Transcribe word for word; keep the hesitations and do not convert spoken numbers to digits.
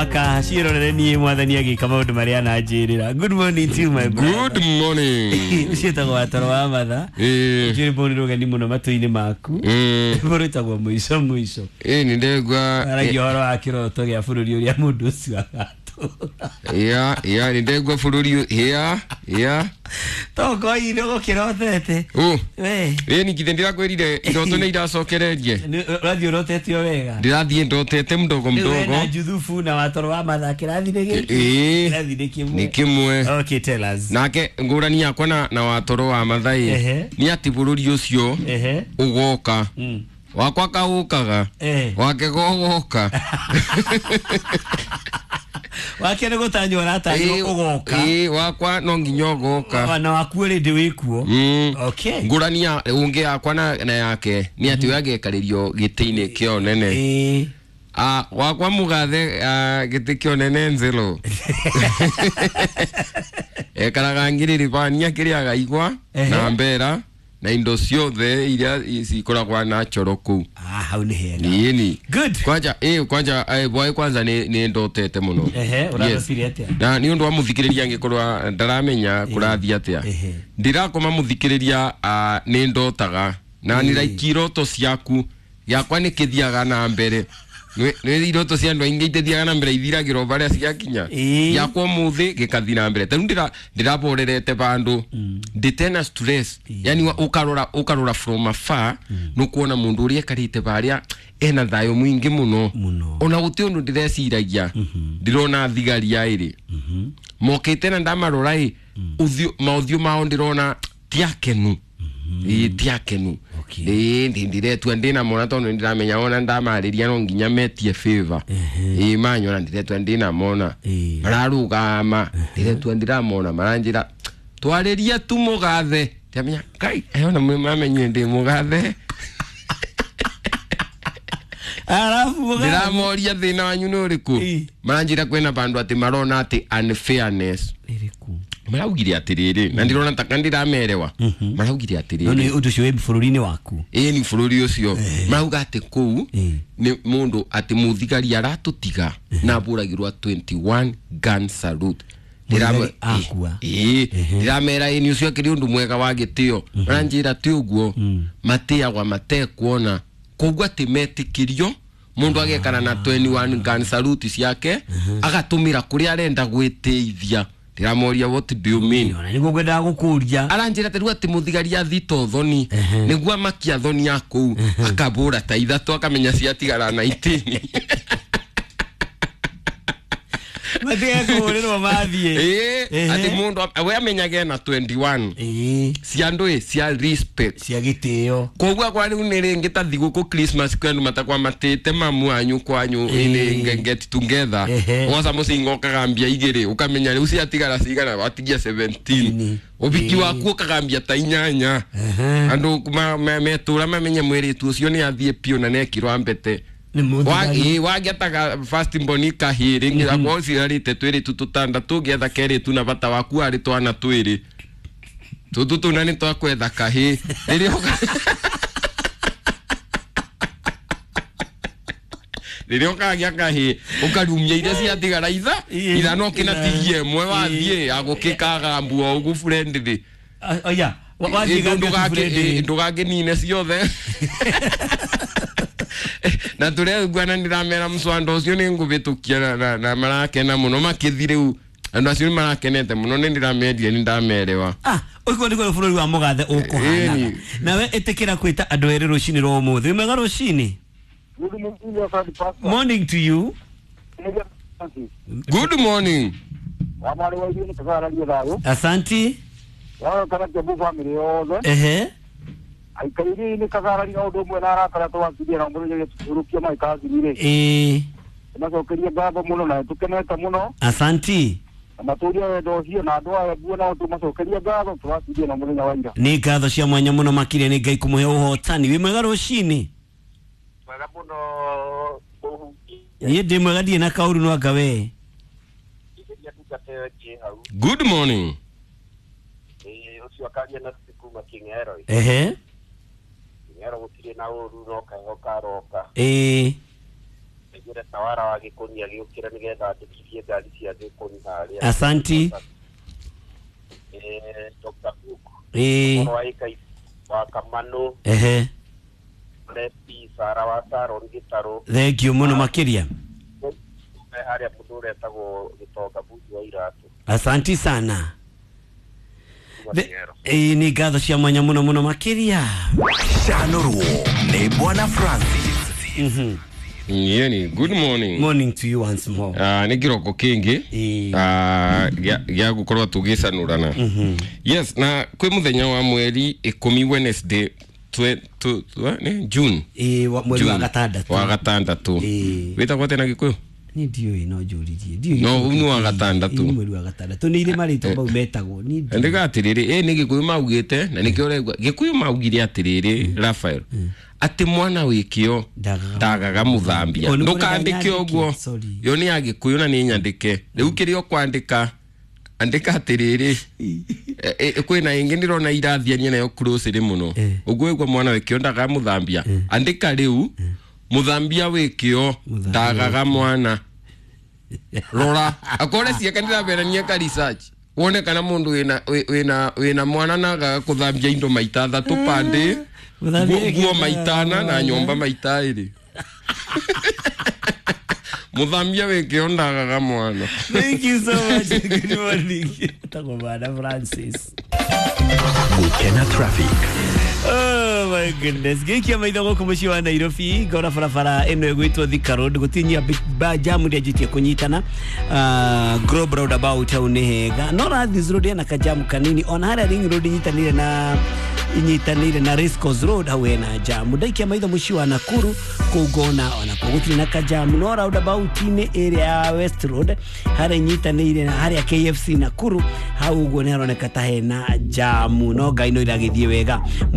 Maka ciĩrorere niĩ mwathani agĩka maũndũ marĩa ananjĩrĩra. Good morning to you, my brother. Good morning. Ũcio wĩtagwo Watoro wa Matha. Eh. Njũĩ rwĩmbo nĩ rũgeni mũno matũ-inĩ maku. Mm. Rwĩmbo rwĩtagwo mũico mũico. Eh, nĩ ndegwa. Aragia ũhoro wa kĩroto gĩa bũrũri ũrĩa mũndũ ũcio agatũra. Ya, ya, nĩ ndegwa bũrũri ya, ya. Tokoinĩ ũgũkĩrotete. Oh. We. Eh, ningithe ndĩrakwĩrire iroto nĩ iracokererie. Nĩ- Ũrathiĩ ũrotete o wega. Ndĩrathiĩ ndotete mdogo Rĩu we mdogo. na Juthubu na Watoro wa Matha kĩrathi nĩ gĩkĩ. Ĩĩ. Kĩrathi nĩ kĩmwe. Nĩ kĩmwe. Okay, tell us. Nake ngũrani yakwa na, na Watoro wa Matha ĩ Ehe. nĩ atĩ bũrũri ũcio Ehe. ũgoka. Mm. Wakwa kaũkaga. Eh. Wake gogoka. Wake nĩ gũtanywo aratanywo ũgoka. Ĩĩ, wakwa no nginya ũgoka. Na waku already wĩkuo. Mm. Okay. Ngũrani ya ũngĩ yakwa na, na yake nĩ atĩ we agĩekarĩrio gĩtĩ-inĩ kĩa ũnene. Ĩĩ. Ah, wakwa mũgathe ah, gĩtĩ kĩa ũnene nzĩro. Ekaraga ngirĩrĩbania kĩrĩaga igwa Ehe. na mbera na indo ciothe iria cikoragwo na choro kũu. Ah, hau nĩ hega. Ĩni. Good. Kwanja ĩ kwanja eh, bwaĩ kwanza nĩ nĩ ndotete mũno. Ehe, ũrarotire atĩa? Na nĩ ũndũ wa mũthikĩrĩria angĩkorwo ndaramenya kũrathiĩ atĩa. Ehe. Ndirakoma mũthikĩrĩria ah, nĩ ndotaga na nĩ like iroto ciaku gĩakwa nĩ kĩthiaga na mbere. Nĩ nĩ iroto cia andũ aingĩ itithiaga na mbere ithiragĩrwo barĩa ciakinya. Ĩĩ. Gĩakwa ũmũthĩ gĩkathiĩ na mbere. Ta rĩu ndĩra ndĩraborerete bandũ ndĩtena stress. Yani wa- ũkarora ũkarora from afar nũkuona mũndũ ũrĩa ekarĩte barĩa ena thayũ mũingĩ mũno. Mũno. Ona gũtirĩ ũndũ ndĩreciragia. Ndĩrona thigari aĩrĩ mokĩte na ndamarora ĩ ũthiũ maũthiũ mao ndĩrona ti akenu. Ĩĩ ti akenu. Okay. Ĩĩ ndĩ ndĩretua ndĩna mona tondũ nĩndĩramenya ona ndamarĩria no nginya metie favor. Ĩĩ manyona ndĩretua ndĩna mona. Ĩĩ. Mararũgama ndĩretua ndĩramona maranjĩra twarĩrie tu mũgathe. Ndĩramenya Ngai ayona mamenyire ndĩ mũgathe. Alafu mũgathe. Ndĩramoria thĩna wanyu nĩ ũrĩkũ. Ĩĩ. Maranjĩra kwĩna bandũ atĩ marona atĩ unfairness. Ĩrĩkũ? Maraugire atĩrĩrĩ na ndĩrona taka ndĩramerewa. Maraugire No atĩrĩrĩ. nĩ ũndũ ũcio wĩ bũrũri-inĩ waku. Ĩĩ ni bũrũri ũcio. Marauga atĩ kũu Ĩĩ. nĩ mũndũ atĩ mũthigari aratũtiga na abũragĩrwo twenty-one gun salute. Mũthigari akua. Ĩĩ ndĩramera ĩĩ nĩ ũcio akĩrĩ ũndũ mwega wa gĩtĩo. Maranjĩra ti ũguo matĩagwa matekuona koguo atĩ metĩkĩrio mũndũ agekara na twenty-one gun salute ciake agatũmĩra kũrĩa arenda gwĩtĩithia. Ndĩramoria what do you mean? Ona nĩguo ngwendaga gũkũria. Aranjĩra ta rĩu atĩ mũthigari athita ũthoni nĩguo amakia thoni ya kũu akabũra ta ithatũ akamenya ciatigara nineteen. Matige kũhũrĩrwo mathiĩ. Ĩĩ Ehe. atĩ mũndũ we amenyage ena twenty-one Ĩĩ. cia andũ ĩ cia respect. Cia gĩtĩo. Koguo akwa rĩu nĩ rĩngĩ ta thigũkũ Christmas kwĩ andũ matakwa matĩte mamu wanyu kwanyu Ĩĩ. ĩnĩ get together. Ehe. Woca mũcinga ũkagambia igĩrĩ ũkamenya rĩu ciatigara cigana watigia seventeen. Ĩni. Ũbiki Ĩĩ. waku ũkagambia ta inyanya. Ehe. Andũ ma- ma- metũra mamenye mwĩrĩtu ũcio nĩ athiĩ piũ na nekirwo mbete. Nĩ mũthigari. Ĩĩ wangĩataga first born kahĩĩ rĩngĩ akorwo ũciarĩte twĩrĩtu tũtandatũ ũngĩetha kerĩtu na bata waku arĩ twana twĩrĩ. Tũtũ tũna nĩ twakwetha kahĩĩ. Rĩrĩa ũka rĩrĩa ũkagĩa kahĩĩ ũkarumia iria ciatigara itha Ĩĩ. ithano ũkĩnatigie ĩmwe wathiĩ agũkĩkagambua ũguo friendly. Ah, oya, wa- wathiĩ Ĩ, gambia ndũgakĩ- friendly. ĩ, ndũgakĩnine ciothe. Na tũreguana ndĩramera mũcwando ũcio nĩ ngũbĩtũkia na, na, na marakena mũno makĩthi rĩu andũ acio nĩ marakenete mũno nĩ ndĩramendire nĩ ndamerewa. Ah, ũguo nĩguo bũrũri wa mũgathe ũkũhanaga. Ĩni. Nawe ĩtĩkĩra kwĩta andũ erĩ rũcinĩ rwa ũmũthĩ. Wĩ mwega rũcinĩ? Good morning, Pastor. Morning to you. Good morning. Wamari wa irio nĩ tũkararia thayũ. Asanti. Wao kana Kiambu family yothe. Ehe. Aikarĩri nĩ kagararia ũndũ ũmwe na arata arĩa twakirie na mũthenya tũrũkia maikathirire. Ĩĩ. Macokerie ngatho mũno na tũkenete mũno. Asanti. Na matũrie wendo ũcio na andũ aya nguo nao tũmacokerie ngatho tũrakirie na mũthenya wa ira. Nĩ ngatho cia mwanya mũno makĩria nĩ Ngai kũmũhe ũhotani. Wĩ mwega rũcinĩ? Mwega mũno kũhukia. Niĩ ndĩ mwega ndirĩ na kaũru no anga we. Igeria ndungata ĩyo ĩngĩ hau. Good morning. Ĩĩ ũcio akaria na kuma King'ero. Ehe. King'ero gũtirĩ na ũru no kaheho karoka. Ĩĩ. Njĩre tawara wa Gĩkũni agĩũkĩra nĩgetha andĩkithie ngari cia Gĩkũni harĩa. Asanti. Eh, Doctor Cook. Ĩĩ. Ũhoro wa ĩka wa Kamano, Ehe. Lepi, Sara wa Saron Gĩtarũ. Thank you mũno makĩria. Me harĩa mũndũ ũretagwo Gĩtonga bundi wa iratũ. Asanti sana. Kuma The- Kĩgero. Ĩĩ, nĩ ngatho cia mwanya mũno mũno makĩria. Canũrwo nĩ Bwana Francis. Mhm. Yeni, good morning. Morning to you once more. Ah, nä kä roko kä ngä Ĩĩ. gä a gå korwo tå gä canå yes, na kwä må thenya wa mweri ikå Wednesday twe, tu, tu, nĩ June. Ĩĩ, wa- mweri wa June, gatandatũ. wa gatandatũ. Ĩĩ. Wä tagwo atä na gä kå yå? Niĩ ndiũĩ, no njũririe. Ndiũĩ No, gĩkũyũ ũyũ nĩ wa kĩĩ. gatandatũ. Ĩĩ, nĩ mweri wa gatandatũ. Nĩ irĩ marĩtwa mau metagwo. Niĩ ndiũĩ. Ndĩga atĩrĩrĩ, ĩ nĩ gĩkũyũ maugĩte na nĩkĩo ũraigua gĩkũyũ maugire atĩrĩrĩ, Rafael, atĩ mwana wĩ kĩo Ndagaga ndagaga mũthambia. O, nĩ Ndũkandĩke kũrega ũguo. nyandĩke, sorry. Yo nĩ ya gĩkũyũ na nĩ nyandĩke. Rĩu kĩrĩa ũkwandĩka, andĩka atĩrĩrĩ, e- e- kwĩna ĩngĩ ndĩrona irathiania nayo closely mũno. Eh. Ũguo ĩgua mwana wĩ kĩo ndagaga mũthambia, andĩka rĩu mũthambia wĩ kĩo Mũthambia ndagaga mwana. Rora akore ciaka ndĩramberania ka research wone kana mũndũ wĩna wĩ- wĩna wĩna mwana na agaga kũthambia indo maita athatũ pande, Mũthambia nguo wĩ nguo kĩo maita ana na nyũmba maita ĩrĩ. Mũthambia wĩ kĩo ndagaga mwana. Thank you so much. Good morning. Tagwo Bwana Francis. Gukena traffic. Oh my goodness. Gĩkia maitho gũkũ mũciĩ wa Nairobi, ngona barabara ĩno ĩgwĩtwo Thika Road gũtinyia jamu ndĩanjĩtie kũnyitana. Uh, Globe Roundabout hau nĩ hega. No Rathis Road ĩna kajamu kanini, ona harĩa Ring Road inyitanĩire na inyitanĩire na Race Course Road hau hena jamu. Ndaikia maitho mũciĩ wa Nakuru kũu ngona onakuo gũtirĩ na kajamu, no roundabout-inĩ ĩrĩa ya West Road harĩa inyitanĩire na harĩa K F C Nakuru hau ũguo nĩ haroneka ta hena jamu, no Ngai no iragĩthiĩ wega.